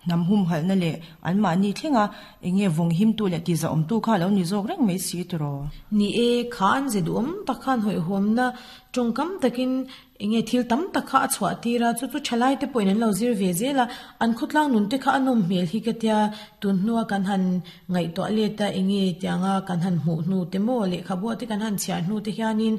Hnam humhalhna leh anmahni thlenga eng nge vawng himtu leh tizahawmtu kha a lo ni zawk reng mai si tiraw? Ni e, kha an ze duhawm tak khan hawihhawmna tawngkam takin eng nge thil tam tak kha a chhuah tir a, chu chu thalai te pawhin an lo zir ve zel a, an khawtlang nun te kha a nawm hmel hi ka tia, tun hnua kan han ngaihtuah let a eng nge tianga kan han hmuh hnu te maw lehkhabu te kan han chhiar hnu te hianin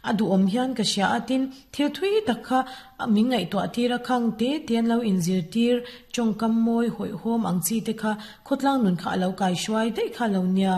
a duhawm hian ka hria a, tin thil thui tak kha A min ngaihtuah tir a khang te te an lo inzirtir tawngkam mawi hawihhawm ang chi te kha khawtlang nun kha a lo kai hruai daih kha lo nia.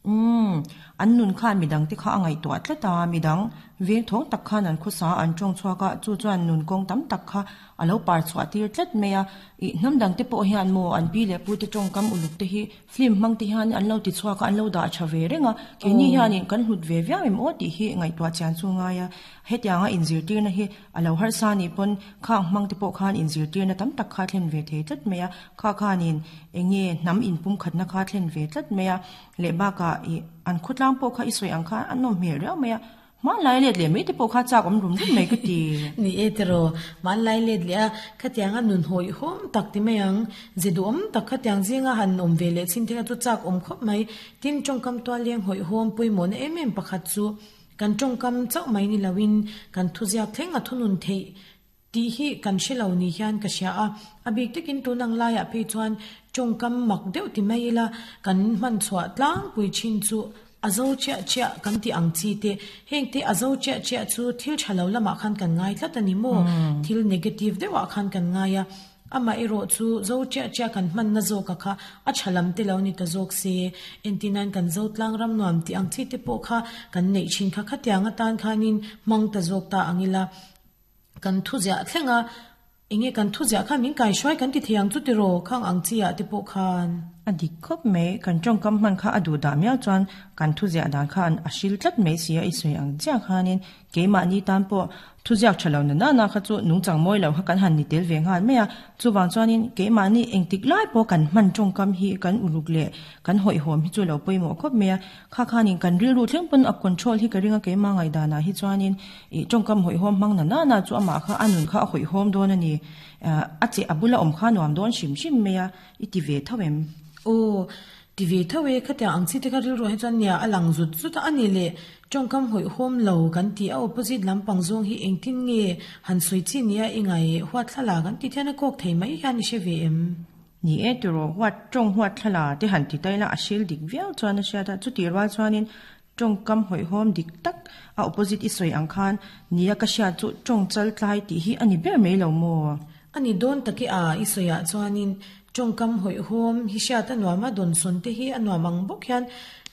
Umm, an nun khan midang te kha a ngaihtuah tlat a, midang veng thawng tak khan an khawsa an tawng chhuak a, chu chuan nun kawng tam tak kha a lo par chhuah tir tlat mai a. Ih, hnam dang te pawh hian maw an pi leh pu te tawngkam uluk te hi film hmang te hian an lo ti chhuak a, an lo dah tha ve reng a, keini hianin kan hlut ve viau em aw tih hi ngaihtuah chian chu ngai a. Hetianga inzirtirna hi a lo harsa anih pawn khang hmang te pawh khan inzirtirna tam tak kha thlen ve thei tlat mai a, kha khanin eng nge hnam inpumkhatna kha thlen ve tlat mai a, leh bakah ih an khawtlang pawh kha i sawi ang khan a nawm hmel riau mai a, hmanlai let leh mai te pawh kha chak awm rum rum mai ka ti. Ni e tiraw, hmanlai let leh a, khatianga nun hawihhawm tak ti mai ang, ze duhawm tak khatiang zinga han awm ve leh chhin te kha chu chak awm khawp mai, tin tawngkam tual leng hawihhawm pawimawhna em em pakhat chu Kan tawngkam chauh mai ni loin kan thuziak thleng a thunun theih tih hi kan hre lo ni hian ka hria a. A bik takin tun ang laiah phei chuan tawngkam mak deuh ti mai ila kan hman chhuah tlangpui thin chu a zo chiah chiah kan tih ang chi te. Heng te a zo chiah chiah chu thil tha lo lamah khan kan ngai tlat a ni maw? Thil negative deuhah khan kan ngai a. Amah erawh chu zo chiah chiah kan hmanna zawka kha a tha lam te lo ni ta zawk se, entirnan kan zo tlang ram nuam tih ang chi te pawh kha kan neih thin kha khatiang atan khanin hmang ta zawk ta ang ila, kan thu ziah thleng a, enge kan thu ziah khan min kaihruai kan ti thei ang chu tiraw khang ang chi ah te pawh khan. A dik khawp mai, kan tawngkam hman kha a duh dah miau chuan kan thu ziah dan kha a hril tlat mai si a, i sawi ang chiah khanin Keimahni tan pawh thuziak tha lo na nana kha chu nungchang mawi lo kha kan han ni tel ve nghal mai a. Chuvang chuanin keimahni engtik lai pawh kan hman tawngkam hi kan uluk leh kan hawihhawm hi chu lo pawimawh khawp mai a. Kha khanin kan rilru thleng pawn a control hi ka ring a keimah ngaihdanah hi chuanin ih tawngkam hawihhawm hmang na nana chu amah kha a nun kha a hawihhawm dawn a ni. A che a bula awm kha nuam dawn hrim hrim mai a, i ti ve tho em? Aw, Ti ve tho e, khatiang ang chi te kha rilru ah hi chuan nia a lang zut zut a, a ni le tawngkam hawihhawm lo kan ti a, opposite lampang zawng hi engtin nge han sawi chi nia i ngai huat thla kan tih hian a kawk thei mai hian i hre ve em? Ni e tiraw, huat tawng huat thla te han ti ta ila a hril dik viau chuan a hriat a, chutih rual chuanin tawngkam hawihhawm dik tak a opposite i sawi ang khan nia ka hriat chu tawng chal tlai tih hi a ni ber mai lo maw? A ni dawn tak i a i sawiah chuanin tawngkam hawihhawm hi hriat a nuam a, dawnsawn te hi a nuam ang bawk hian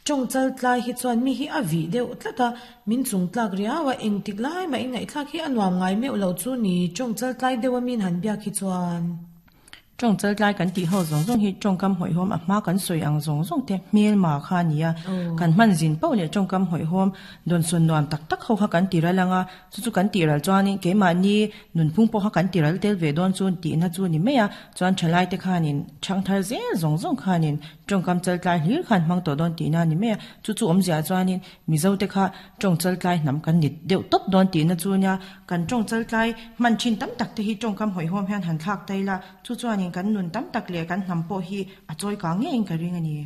tawng chal tlai hi chuan mi hi a vih deuh tlat a, min chung tlak riau a, engtik lai mah i ngaihthlak hi a nuam ngai meuh lo chu ni tawng chal tlai deuh a min han biak hi chuan. Tawng chaltlai kan tih ho zawng zawng hi tawngkam hawihhawm a hma kan sawi ang zawng zawng te hmelma kha a ni a. Kan hman zin poh leh tawngkam hawihhawm dawnsawn nuam tak tak ho kha kan ti ral ang a, chu chu kan tih ral chuanin keimahni nunphung pawh kha kan ti ral tel ve dawn chu tihna chu a ni mai a. Chuan thalai te khanin thangthar zel zawng zawng khanin tawngkam chaltlai hlir khan hmang tawh dawn tihna a ni mai a. Chu chu awmzia chuanin Mizo te kha tawng chaltlai hnam kan ni deuh tawp dawn tihna chu nia, kan tawng chaltlai hman thin tam tak te hi tawngkam hawihhawm hian han thlak ta ila, chu chuanin kan nun tam tak leh kan hnam pawh hi a chawi kang ngeiin ka ring a ni.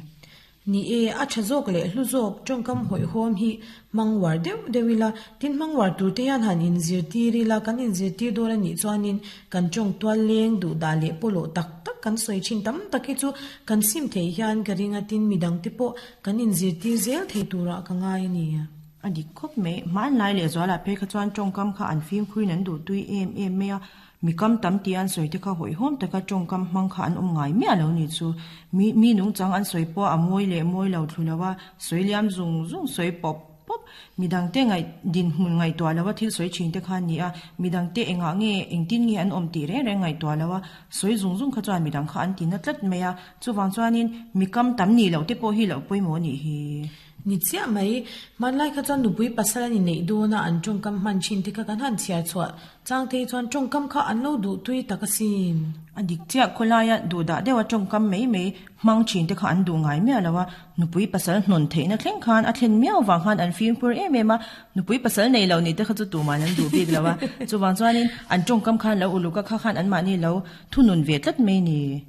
Ni e, a tha zawk leh hlu zawk tawngkam hawihhawm hi hmang uar deuh deuh ila, tin hmang uar tur te hian han inzirtir ila, kan inzirtir dawn a nih chuanin kan tawng tual leng duh dah leh pawlawh tak tak kan sawi thin tam tak hi chu kan sim thei hian ka ring a, tin midang te pawh Kan inzirtir zel thei turah ka ngai a ni. A dik khawp mai. Hmanlai leh zualah phei kha chuan tawngkam kha an fimkhurin an duh tui em em mai a. Mi kam tam tih an sawi te kha hawihhawm taka tawngkam hmang kha an awm ngai miah lo ni chu. Mi mi nungchang an sawi pawh a mawi leh mawi lo thlu lo a, sawi liam zung zung sawi pawp pawp. Midangte ngaih dinhmun ngaihtuah lo a thil sawi thin te kha an ni a, midangte engah nge engtin nge an awm tih reng reng ngaihtuah lo a, sawi zung zung kha chuan midang kha an ti na tlat mai a. Chuvang chuanin mi kam tam nih loh te pawh hi loh pawimawh nih hi. Ni chiah mai, hmanlai kha chuan nupui pasal an inneih dawn a, an tawngkam hman thin te kha kan han chhiar chhuah chang te hi chuan tawngkam kha an lo duh tui tak asin. A dik chiah, khawlaia duh dah deuha tawngkam mai mai hmang thin te kha an duh ngai miah lo a, nupui pasal hnawn theihna thleng khan a thlen miau vang khan an fimkhur em em a, nupui pasal nei lo nih te kha chu tuman an duh bik lo a, chuvang chuanin an tawngkam khan lo uluk a, kha khan anmahni lo thunun ve tlat mai ni.